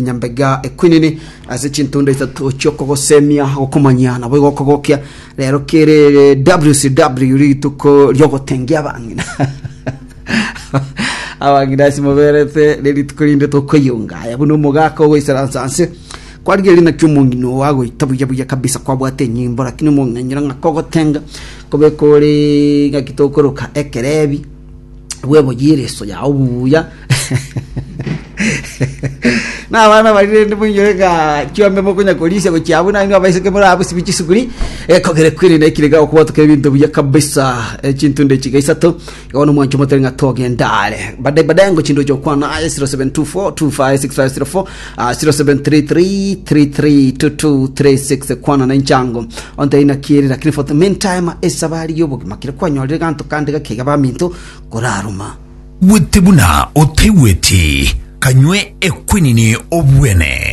Nyambega ekwinini ase chintunda isato chiokogosemia gokomanyia nabo igokogokia rero kere WCW rituko riogotengia abang'ina abang'ina ase moberete nerituko rinde tokoyunga aya buna omogaka ogoisaransa nse kwarigereria naki omong'ina oo agoita buya buya kabisa kwabwate enyimbo lakini omong'ina nyora ng'a kogotenga kobeka ore ng'aki tokoroka ekerebi bweboyie ereso yao buya na abana baria rende moinyore ng'a chiombe mokonya korisia gochia abwo nainwe abaiseke more abwo sibi chisukuri ekogere kweri na ekire gakobwatoka ebinto buya kabisa eh, chintunde chiga isato igo bono mwanche motere ng'a togenda are baadaye baadaye ngo chindoche okwana aye 0724256504 ah, 0733332236 kwana na inchango onte naki ere lakini for the meantime esabari y'obogima kere kwanyorire ganto kande gakeiga baminto koraruma Bwete buna otaigweti, kanywe ekwenini obwene.